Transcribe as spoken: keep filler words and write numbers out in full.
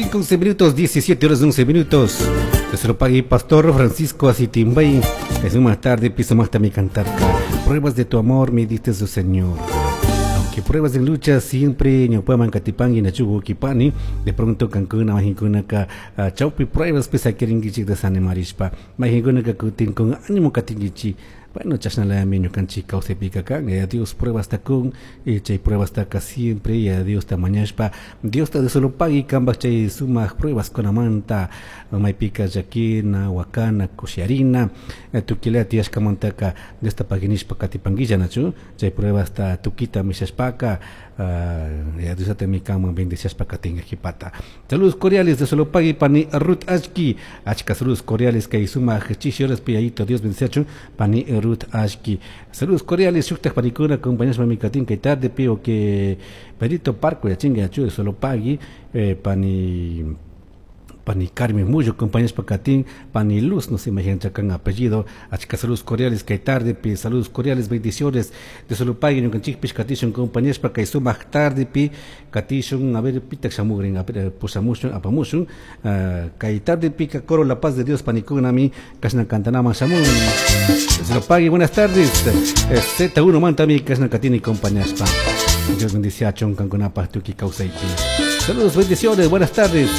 cinco, once minutos, diecisiete horas once minutos. Se lo pague Pastor Francisco Asitimbay. Es más tarde, piso más también cantar. Pruebas de tu amor me diste su Señor. Aunque pruebas de lucha siempre ñawpaman katipangi nachugu kipani de pronto kankuna mahinkunaka chawpi pruebas pisa quiringuichik desanimarishpa mahinkunaka kutin con ánimo katinguichi. Bueno, chashnalami ñukanchik kawsaypika kan, ya Dios pruebas ta kun, y chay pruebas taka siempre, ya Dios ta mañashpa, Dios ta de solo pagui kambaj chay sumak pruebas kunamanta, maypika llakina, wakana, kushiarina, tukila tiyashkamantaka Dios ta paginishpa katipanguilla nachu, chay pruebas ta tukita mishashpaka, uh, ya Dios ta mi kanman bendiciashpa katinga jipata. Saludos cordiales de solo pagui pani Ruth Ashki, achka saludos cordiales kay sumak chishi horas piyayito Dios bendiciachun pani Ruth Ashki. Saludos cordiales, shuktaj panikuna, compañeros mami katin kay tarde pio que Perito Parco ya chinga ya solo pagui eh, pani pani Carmen Muyo, compañeros pacatín, pani Luz, no se imaginan chacan apellido, achka saludos cordiales kay tarde, pi saludos cordiales, bendiciones de solo pagui, ñukanchik katishun compañeros pa kay sumak tarde pi katishun, a ver pitak shamugrin, a ver pusamushun, apamushun, uh, kay tarde pi coro la paz de Dios panikunami, kashna cantanama shamun. Solo pagui, buenas tardes, Z uno mantami, kashna katini compañeros pa. Dios bendice a Choncan con tuki kawsaypi. Saludos, bendiciones, buenas tardes.